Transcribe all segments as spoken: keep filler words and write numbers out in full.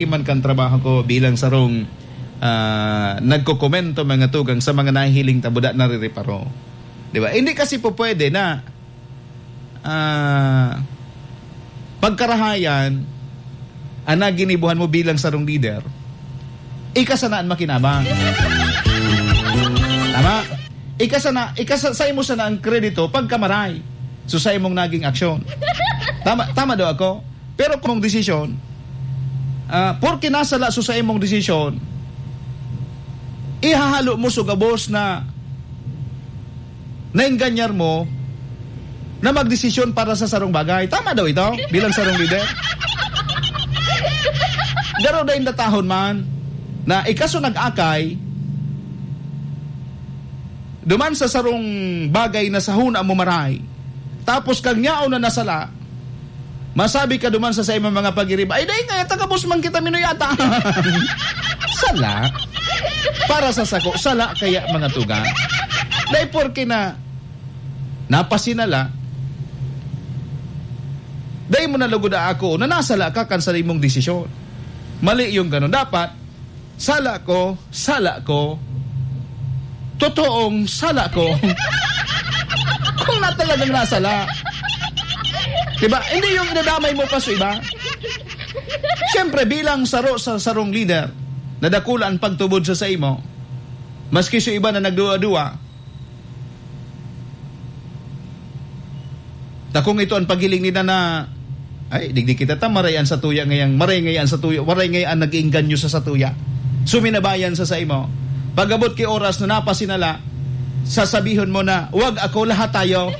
man kan trabaho ko bilang sarong, ah, nagkokomento, mga tugang, sa mga nahihiling ta buda narireparo. Di ba? Hindi kasi po pwede na, ah, pagkarahayan ang naginibuhan mo bilang sarong leader, ika sana an makinabang. Tama? Ika sana, ika sa, sa imo sana ang kredito pagkamaray. So, sa imong naging aksyon. Tama, tama daw ako? Pero kung desisyon, ah, porke nasala so sa imong desisyon, ihahalo mo so gabos na naingganyar mo na magdesisyon para sa sarong bagay. Tama daw ito, bilang sarong leader? Garo na indatahon man na ika so nag-akay, duman sa sarong bagay na sa huna mo maray, tapos kang yaon na nasala, masabi ka duman sa saimong mga pagiriba, "Ay, dai kaya tagabos man kita minuyata." Sala. Para sa sako, sala kaya, mga tugang. Dai porke na napasinala, dai mo na lugod aako na nasala ka kan sa imong desisyon. Mali yung ganun. Dapat, sala ko, sala ko, totoong sala ko. Kung na talagang nasala. Diba? Hindi yung idadamay mo pa sa iba. Siyempre, bilang saro sa sarong leader, na dakula an pagtubod sa saimo, maski sa iba na nagduwa-duwa, ta kung ito an paghiling nila na, "Ay, digdi kita ta, maray an satuya ngayang, maray ngaya an satuya, maray ngaya an nag-iengganyo sa satuya." Suminabayan sa saimo. Pag-abot ki oras na napasinala, sasabihon mo na, "Wag ako, lahat tayo."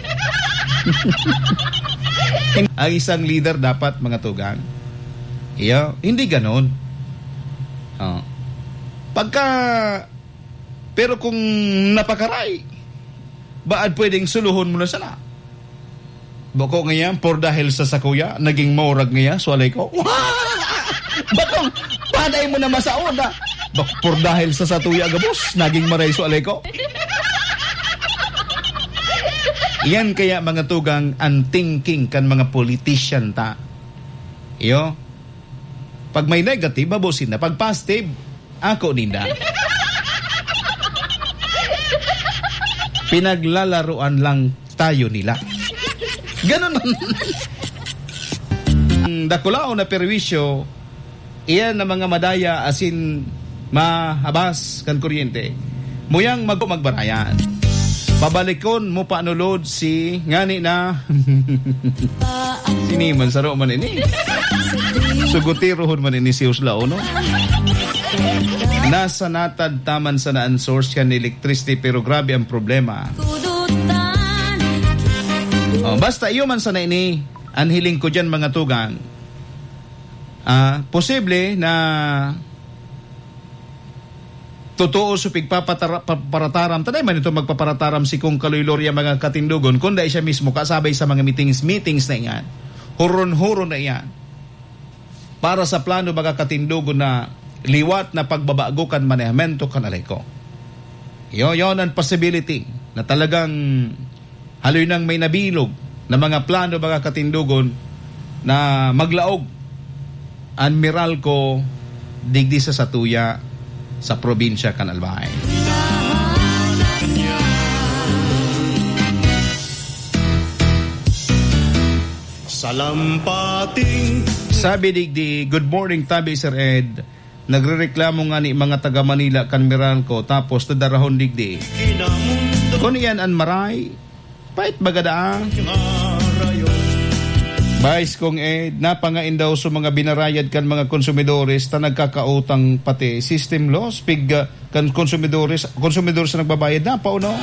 Ang isang leader dapat, mga tugang. Iyo, hindi ganon. Oh. Pagka, pero kung napakaray, baad pwedeng suluhon mo na sana? Bako ngayan, por dahil sa sakuya, naging maurag ngayan, so alay ko. Bakong, paday mo na masaod, ah. Bak-, por dahil sa satuya, gabos, naging maray, so alay ko. Yan kaya, mga tugang, ang thinking kan mga politician ta. Iyo, pag may negative, babusin na. Pag positive, ako ninda. Pinaglalaruan lang tayo nila. Ganun man. Ang dakulaon na perwisyo, iyan na mga madaya asin mahabas kan kuryente. Muyang mag-, magbarayan. Pabalikon mo pa nulod si ngani na. Sini man, saro man ini. Sugotirohon man ini si Uslao, no? Nasa natad taman sana an source kan electricity, pero grabe ang problema. Oh, basta iyo man sana ini, an hiling ko diyan, mga tugang. Ah, posible na totoo sa pigpapatara-, pa-, parataram. Taday man ito magpaparataram si Kong Kaloy Loria, mga katindogon, kunda siya mismo kasabay sa mga meetings, meetings na iyan. Huron-huron na iyan. Para sa plano, mga katindogon, na liwat na pagbabago kan manehmento kan Aleco. Yo, yon ang possibility na talagang haloy nang may nabilog na mga plano, mga katindogon, na maglaog an Meralco digdi sa satuya sa probinsya kan Albay. Salampating. Sabi digdi, "Good morning, tabi, Sir Ed. Nagrereklamo nga ni mga taga Manila kan Meralco, tapos nadarahon digdi. Kun iyan an maray, pait baga daa." Vice Kong Ed, napangain daw sa mga binarayad kan mga konsumidores ta nagkakautang pati system loss, pig, ah, kan konsumidores, konsumidor sa nagbabayad na, pauno?